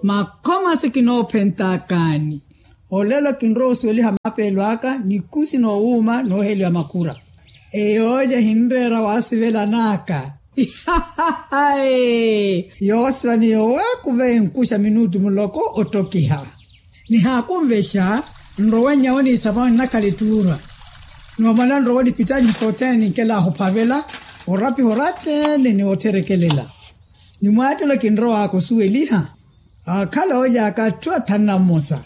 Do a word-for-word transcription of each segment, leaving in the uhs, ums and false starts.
Makhomaso kinoophentaakani. Olelo kinrowa osuweliha mapeelo aka nikusi noowuuma nooheliwa makura. Eyooja ehinreera waasivelan'aka. Ihahahae. Yoosiva ni yowakuva enkuxa minutu muloko ottokiha. Nihaakunvexa nrowe nyawo niisaponi nnakhala ettuura. Noomala nrowe nipittanyu sothene ninkelaaha ophavela orapiha orattene ni ottherekelela. Ni mwaattelo kinrow'aka osuweliha. Aakhala oolyaaka atthu athanu na mmosa.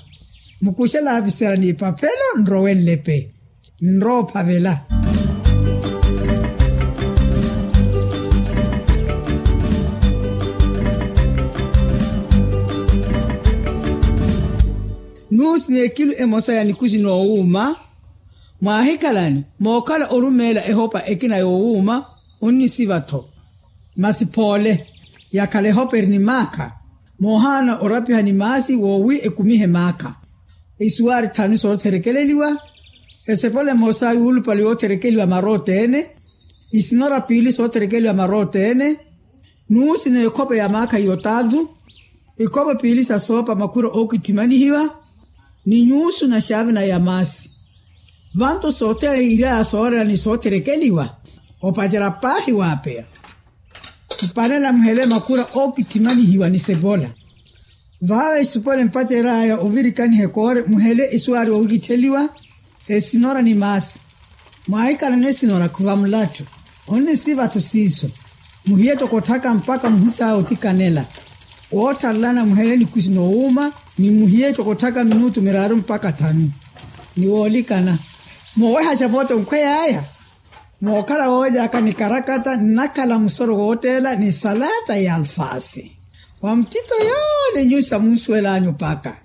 Mukuxela avisela n'ipaphelo nrowe nlepe. Ninrowa ophavela. Nuusi n'ekilu emosa ya nikusi n'owuuma. Mwaahikhalani mookhala orumeela ehopa ekina y'owuuma. Onnisiva-tho. Masi phoole yakhala ehopa eri ni maakha. Moohaana orapiha ni maasi woowi ekumihe maakha. Isuwaari thanu sootherekeleliwa. Esepole emosa yuulupale yootherekeliwa mara othene. Isinora piili sootherekeliwa mara othene. Nuusi n'ekhope ya maakha yotaatu. Ikhope piili sa soopa makhura ookitthimanihiwa. Ni nyuusu na xaavina ya maasi. Vanto sothene iryaya soorela ni sootherekeliwa. Opacerya paahi waapeya. Mpanela muhele makhura ookitthimanihiwa ni sepola. Vaawe isupwele mpacery'aya ovirikaniha ekoore muhele isuwaari oowikittheliwa. Esinora ni maasi. Mwaahikhalana esinora khuva mulatthu. Onnisiva-tho siiso. Muhiye toko otthaka mpakha muhusaawe otikanela. Woottharelana muhele nikusi n'owuuma. Ni muhiye toko otthaka minutu miraaru mpakha thanu. Ni woolikana. Moowehaxa vote onkhwey'aya. Mookhala wooly'aka ni karakata nnakhala musoro wootteela ni salata y'alfaasi. Wa muttittho yoole nyusi amunsuwel'anyu paka.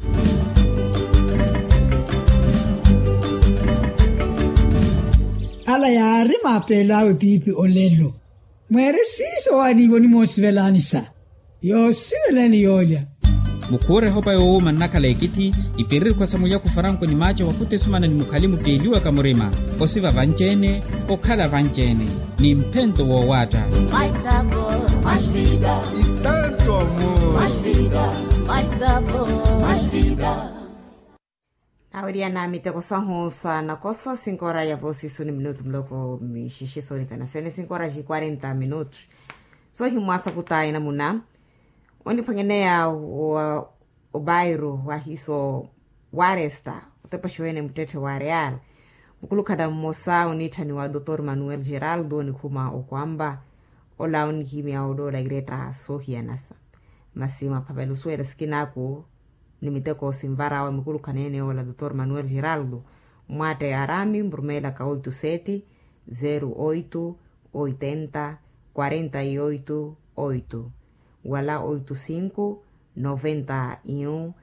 Ala yaari maapeelo awe piipi olelo. Mweeri siiso waaniivo onimoosivelaanisa. Yoosiveleni yoolya. Mukhuura ehopa yoowuuma nnakhala ekithi. Ipiririkhwa sa mulyaku faranko ni maaca wakhuta esumana ni mukhali mutteeliwaka murima. Osiva vanci-ene. Okhala vanci-ene. Ni mphento woowaatta. Itanto amu. Naawiriyana miteko sahu sa nakoso sinkora ya voosiso ni minutu muloko mixixi soonikana sene sinkora xi quarenta minutu. Soohimwaasa kutayi namuna oniphwanyaneya wa obairu wahiso waresta otepaxiwene muttetthe wa real. Mukulukhana mmosa oniitthaniwa dotor manuel geraldo onikhuma okwamba ola onihimya oloola iretta soohiyanasa. Masi maphavela osuwela sikinaaku ni miteko sinvarawe mukulukhana ene ola dotor manuel geraldo. Mwatte arami murumeelaka oito sete zero oito oitenta quarenta e oito oito wala oito cinco noventa e um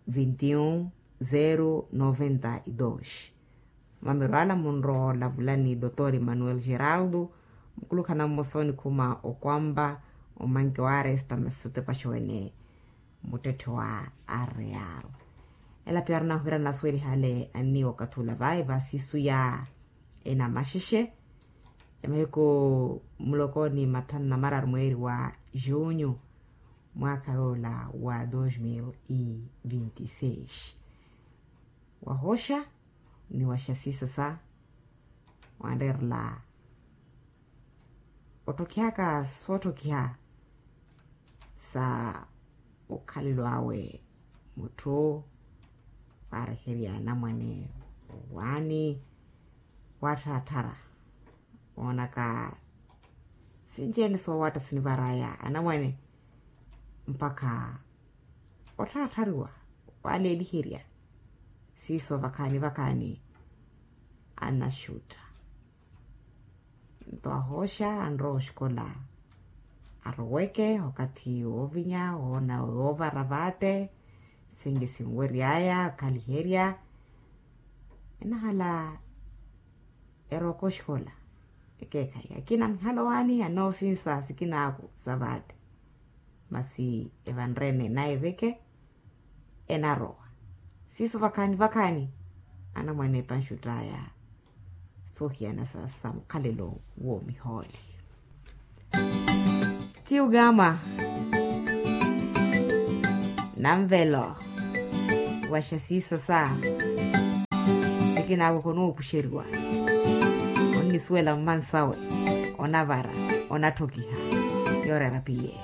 vinte e um zero noventa e dois. Mamerwala munrowa olavulani dotor emmanuel geraldo mukulukhana mmosa onikhuma okwamba omanke wa aresta masi otepaxiwene muttetthe wa areal. Ela piya arina ohirana asuwelihale anniiwa okathi ula vayi vasisu ya enamaxexe ya mahiku muloko ni mathanu na mararu mweeri wa junho mwaakha yoola wa dos mil e vinte e seis. Wahooxa ni waxasisasa wanreerela ottokhihaka soottokiha sa okhalelo awe mutthu waareherya anamwane owaani waattharathara woonaka sinci-ene soowatta sinivaraya anamwane mpakha ottharathariwa waaleeliherya siiso vakhaani vakhaani anaxutta. Nto ahooxa anrowa oxikola aroweke okathi woovinya woona woovara vaate sinci sinwery'aya okhaliherya enahala erowaka oxikola ekeekhayi akina anhala owaani anoosinsa sikinaaku sa vaate. Masi evanrene naye veke enarowa siiso vakhaani vakhaani anamwane epanxutt'aya soohiyana sa mukhalelo woomihooli. Tiugama. Anvelo. Waxa siiso sa sikinaavo khonoopuxeriwa. Onnisuwela mmansawe, onavara, onatthokiha. Yoorera piye.